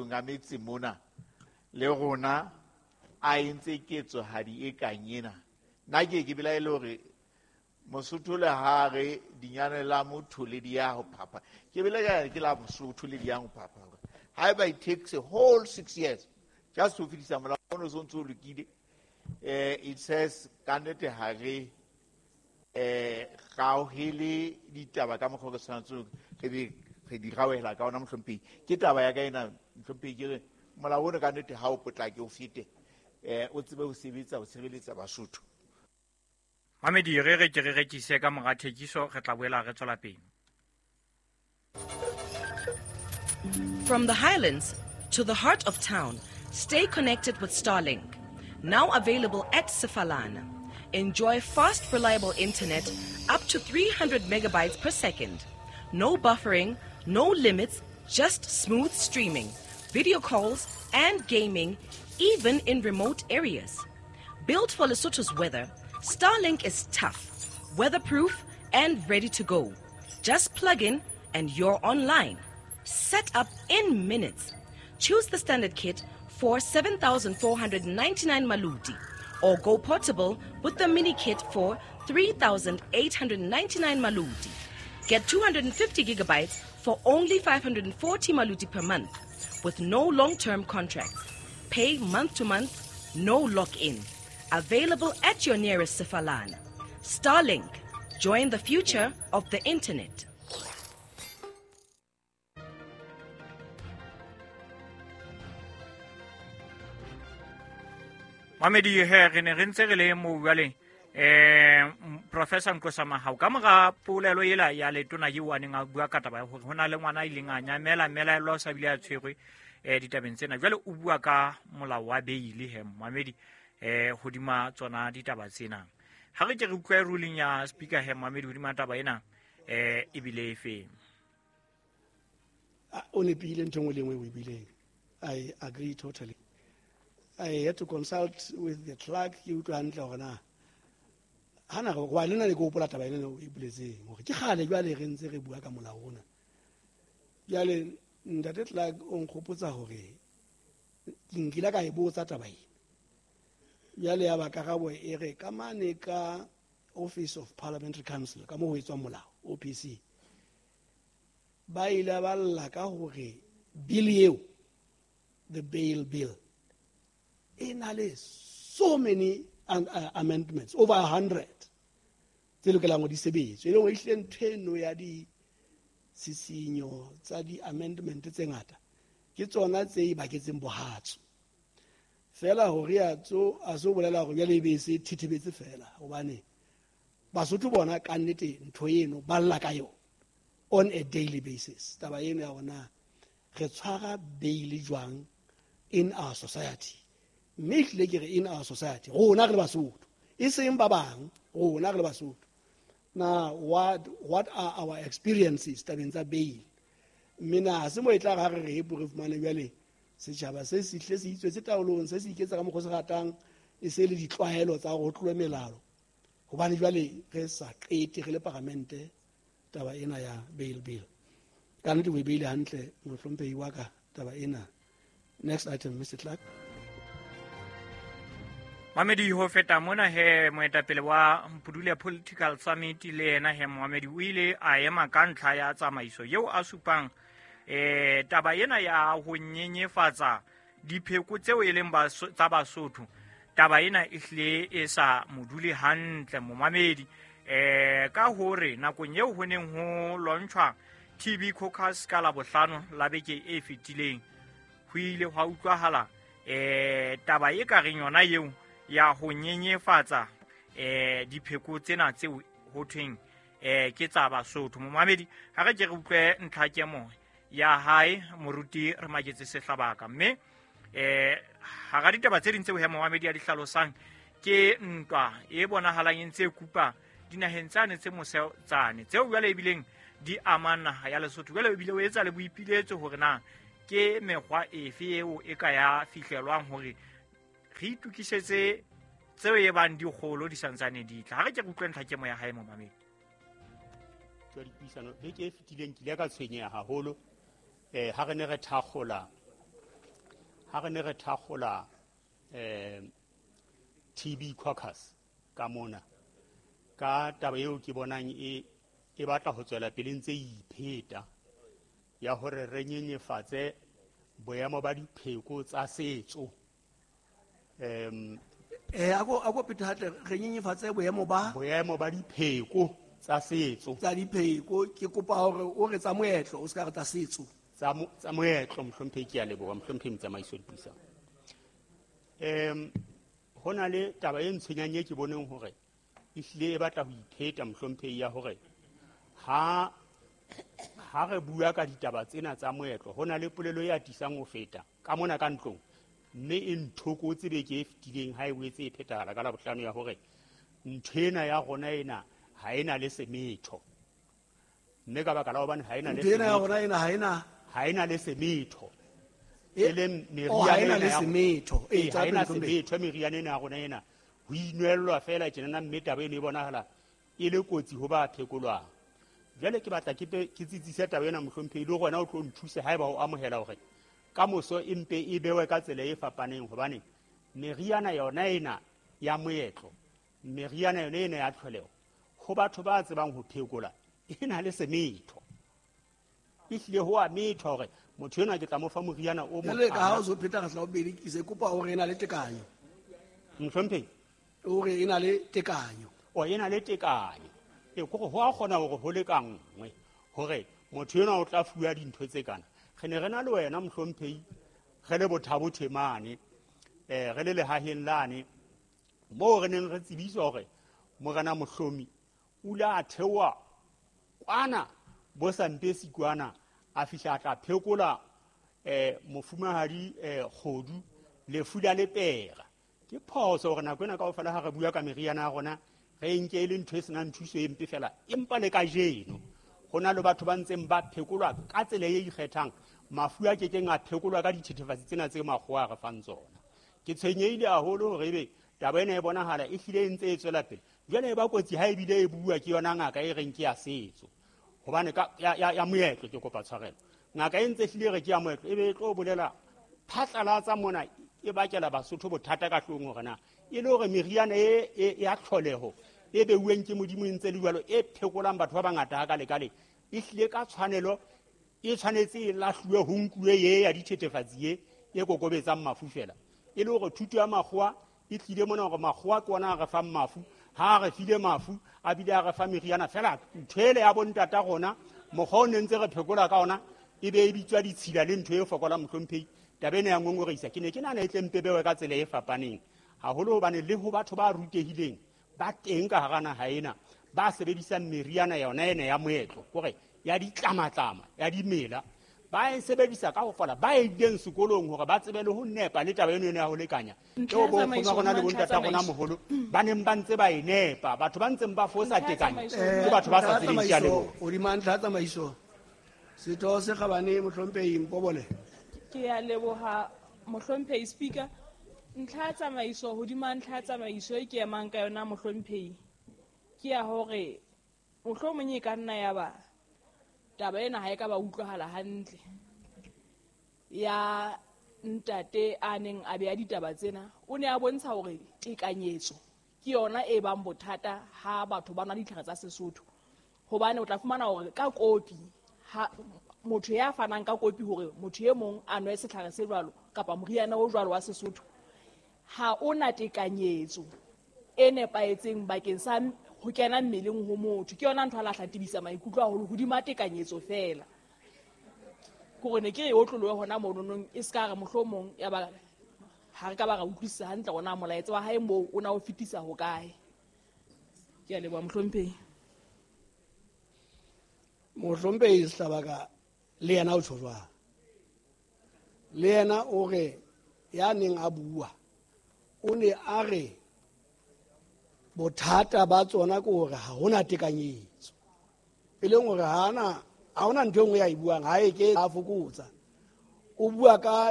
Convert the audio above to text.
Matlong a metse mona le rona a entse ketsohadi e kang ena. Nna ke belaele hore Mosotho le ha re dinyane la motho le di ya ho phapha. Ke belaela ke la Mosotho le di yang ho phapha. Haeba it takes a whole 6 years just ho fetisa molao ono so ntso o lokile, it says ka nnete ha re gaohele ditaba ka mokgwa o re tshwanetse re be re di gaohela ka ona, mohlomphehi. Ke taba ya ka ena, mohlomphehi, ke re molao ono ka nnete ha o potlake o fete, o tsebe ho sebetsa ho tshireletsa Basotho. Mamedi, re re ke re rekise ka mora thekiso, re tla boela re tswela pele. From the highlands to the heart of town, stay connected with Starlink. Now available at Sefalana. Enjoy fast, reliable internet up to 300 megabytes per second. No buffering, no limits, just smooth streaming, video calls, and gaming, even in remote areas. Built for Lesotho's weather, Starlink is tough, weatherproof, and ready to go. Just plug in and you're online. Set up in minutes. Choose the standard kit for 7,499 maluti, or go portable with the mini kit for 3,899 maluti. Get 250 gigabytes for only 540 maluti per month, with no long-term contracts. Pay month to month, no lock-in. Available at your nearest Sefalana. Starlink, join the future of the internet. Mamedi, he re ne re ntse re le mo jwale, Professor Nqosa Mahao, ka mora polelo ela ya letona eo a neng a bua ka taba ya hore ho na le ngwana a ileng a nyamela, mmelaelwa o sa bile a tshwerwe, ditabeng tsena. Jwale o bua ka molao wa beile he, Mamedi, hodima tsona ditaba tsena. Ha re ke re utlwe ruling ya speaker he, Mamedi, hodima taba ena, ebile e feng? O nepile ntho e nngwe le nngwe o e buileng. I agree totally. I had to consult with the clerk, ke utlwe hantle hore na hana re wa lena le ke hopola taba ena o e boletseng hore ke kgale jwale re ntse re bua ka molao ona. Jwale ntate clerk o nkgopotsa hore ke nkile ka e botsa taba ena. Jwale ya ba karabo e re ka mane ka Office of Parliamentary Council, ka moo ho etswang molao, OPC, ba ile ba lla ka hore bill eo, the bail bill, e na le so many amendments, over 100, tse lokelang ho di sebetswe. E leng hore ehlile ntho eno ya ditshisinyo tsa di-amendment tse ngata ke tsona tse e baketseng bohatso. Fela hore a tso, a so bolela hore jwale e be se thithibetse fela, hobane Basotho bona ka nnete ntho eno ba lla ka yona on a daily basis. Taba eno ya hore re tshwara bail jwang in our society, mme ehlile ke re in our society, rona re le Basotho, e seng ba bang, rona re le Basotho. Na what are our experiences tabeng tsa bail? Mme na ha se mo e tla re re hepo re fumane jwale setjhaba se sihle se itswetse taolong, se se iketsa ka mokgwa o se ratang, e se le ditlwaelo tsa hore ho tlowe melao, hobane jwale re sa qete re le paramente taba ena ya bail bill. Ka nnete o e beile hantle mohlomphehi wa ka taba ena. Next item, Mr. Clark. Mamedi, ho feta mona he moetapele wa Mpudule Political Summit le yena he Mohamedi o ile a ema ka ntlha ya tsamaiso eo a supang, taba ena ya ho nyenyefatsa dipheko tseo e leng tsa Basotho. Taba ena e hlile e sa mo dule hantle momamedi, ka hore nakong eo ho neng ho launchwa TB Caucus ka Labohlano la beke e fetileng, ho ile hwa utlwahala, taba e ka reng yona eo ya ho nyenyefatsa, dipheko tsena tseo ho thweng, ke tsa Basotho. Momamedi, ha re ke re utlwe ntlhakemo ya hae moruti re maketse Sehlabaka, mme, hara ditaba tse ding tseo he momamedi a di hlalosang ke ntwa e bonahalang e ntse e kupa dinaheng tsane tse mose tsane tseo jwale ebileng di amang naha ya Lesotho. Jwale ebile o etsa le boipiletso hore na ke mekgwa efe eo e ka ya fihlelwang hore re itokisetse tseo e bang dikgolo di santsane di tla. Ha re ke re utlwe ntlhakemo ya hae momamedi. Jwa dipuisano beke e fetileng ke ile ka tshwenyeha haholo, ha re ne re thakgola Ha re ne re thakgola TB caucus ka mona, ka taba eo ke bonang e batla ho tswela pele ntse e ipheta ya hore re nyenyefatse boemo ba dipheko tsa setso. Ako phete hantle, re nyenyefatse boemo ba dipheko tsa setso. Tsa dipheko, ke kopa hore o re tsa moetlo, o se ka re tsa setso. Tsa moetlo, mohlomphehi, ke a leboha, mohlomphehi motsamaiso dipuisano. Ho na le taba e ntshwenyang e ke boneng hore ehlile e batla ho ipheta, mohlomphehi, ya hore ha re bua ka ditaba tsena tsa moetlo, ho na le polelo e atisang ho feta ka mona ka ntlong, mme e nthokotse beke e fetileng ha e boetse e phethahala ka Labohlano, ya hore ntho ena ya rona ena ha ena le semetho. Mme ka baka la hobane ha ena le ntho ena ya rona ena ha ena le semetho, e leng meriana le semetho, ha ena semetho meriana ena ya rona ena ho inwellwa fela tjenana, mme taba eno e bonahala e le kotsi ho ba phekolwang. Jwale ke batla ke tsitsise taba ena, mohlomphehi, le rona o tlo nthuse haeba o amohela hore ka moso e mpe e bewe ka tsela e fapaneng, hobane meriana yona ena ya moetlo, meriana yona ena ya tlholeho, ho batho ba tsebang ho phekola e na le semetho. Ehlile ho a methwa hore motho enwa ke tla mo fa moriana o mo. Jwale ka ha o so pheta re tla o bedi, ke se kopa hore e na le tekanyo. Mohlomphehi, hore e na le tekanyo. O e na le tekanyo. E kore ho a kgona hore ho lekanngwe hore motho enwa o tla fuwa dintho tse kana. Re ne re na le wena, mohlomphehi, re le Bothabothe mane, re le lehaheng lane moo re neng re tsebiswa hore morena Mohlomi o ile a theoha kwana bo Sampesi kwana, a fihla a tla phekola mofumahadi Kgodu lefu la lepera. Ke phoso hore nako ena kaofela ha re bua ka meriana ya rona re nke e le ntho e senang thuso e mpe fela, empa le kajeno ho na le batho ba ntseng ba phekolwa ka tsela e ikgethang, mafu a kekeng a phekolwa ka dithethefatsi tsena tse makgowa a re fang tsona. Ke tshwenyehile haholo hore ebe taba ena e bonahala e hlile e ntse e tswela pele. Jwale e ba kotsi ha ebile e bua ke yona ngaka e reng ke ya setso, hobane ka ya moetlo, ke kopa tshwarelo, ngaka e ntse hlile re ke ya moetlo, ebe e tlo bolela phatlalatsa mona e bakela Basotho bothata ka hlong hore na e le hore meriana e ya tlholeho e beuweng ke Modimo e ntse le jwalo e phekolang batho ba bangata ha ka lekale, e hlile ka tshwanelo e tshwanetse e lahluwe ho nkuwe ye ya dithethefatsi ye e kokobetsang mafu fela. E le hore thuto ya makgowa e tlile mona hore makgowa ke ona a re fang mafu, ha a re file mafu a bile a re fa meriana fela, ntho ele ya bontata rona mokgwa o ne ntse re phekola ka ona e be e bitswa ditshila le ntho e fokolang, mohlomphehi. Taba ena ya ngongorehisa, ke ne ke nahana e tle mpe bewe ka tsela e fapaneng haholo, hobane le ho batho ba rutehileng ba teng ka hara naha ena ba sebedisang meriana yona ena ya moetlo, kore ya ditlamatlama ya dimela, ba e sebedisa ka ho fola, ba e ileng sekolong hore ba tsebe le ho nepa le taba eno ena ya ho lekanya. Eo bo nkgono rona le bontata rona moholo ba neng ba ntse ba e nepa, batho ba ntseng ba fosa tekanyo ke batho ba sa tsebeng. Ke a leboha. Hodima ntlha ya tsamaiso, setho se kgabane mohlomphehi Mpobole. Ke a leboha, mohlomphehi Speaker. Ntlha ya tsamaiso, hodima ntlha ya tsamaiso e ke emang ka yona, mohlomphehi, ke ya hore mohlomong e ka nna ya ba taba ena ha e ka ba utlwahala hantle ya ntate a neng a beha ditaba tsena. O ne a bontsha hore tekanyetso ke yona e bang bothata ha batho ba nwa ditlhare tsa Sesotho, hobane o tla fumana hore ka kopi, ha motho ya fanang ka kopi hore motho e mong a nwe setlhare se jwalo kapa moriana o jwalo wa Sesotho, ha o na tekanyetso e nepahetseng bakeng sa ho kena mmeleng ho motho. Ke yona ntho a lahla tebisa maikutlo haholo hodima tekanyetso fela. Ke hore ne ke re e otlolohe hona mononong, e se ka re mohlomong ya ba ha re ka ba ra utlwisisa hantle hore na molaetsa wa hae moo o na o fetisa hokae. Ke a leboha, mohlomphehi. Mohlomphehi Sehlabaka le yena o tjho jwang? Le yena o re ya neng a bua o ne a re bothata ba tsona ke hore ha hona tekanyetso, e leng hore ha hona ntho e nngwe ya e buang, ha e ke a fokotsa, o bua ka